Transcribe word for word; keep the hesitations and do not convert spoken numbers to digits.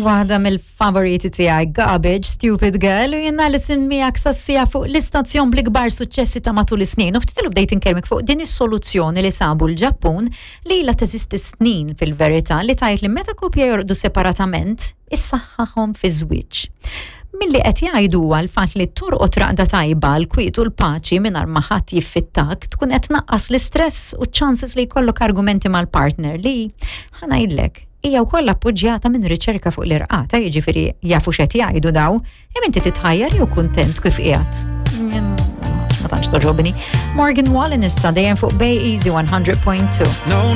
Waħda mill-favoriti tiegħi, Garbage, Stupid Girl, u jiena Alison miegħek sas-siegħa fuq l-istazzjon bl-ikbar suċċessi ta' matul is-snin. U ftit ilu bdejt inkellmek fuq din is-soluzzjoni li sabu l-Ġappun li ilha teżisti snin fil-verità, li tgħid li meta koppja jorqdu separatament, issaħħaħhom fi żwieġ. Milli qed jgħidu huwa l-fatt li torqod raqda tajba, l-kwiet u l-paċi, mingħajr ma ħadd jiffittak, tkun qed tnaqqas l-istress u chances li jkollok argumenti mal-partner, li ħa ngħidlek hija wkoll appoġġjata minn riċerka fuq l-irqad, jiġifieri jafu x'qed jgħidu daw, hemm inti titħajjar jew kuntent kif qiegħed. Ma tantx togħġobni. Morgan Wallen issa, dejjem fuq Bay Easy one hundred point two. No.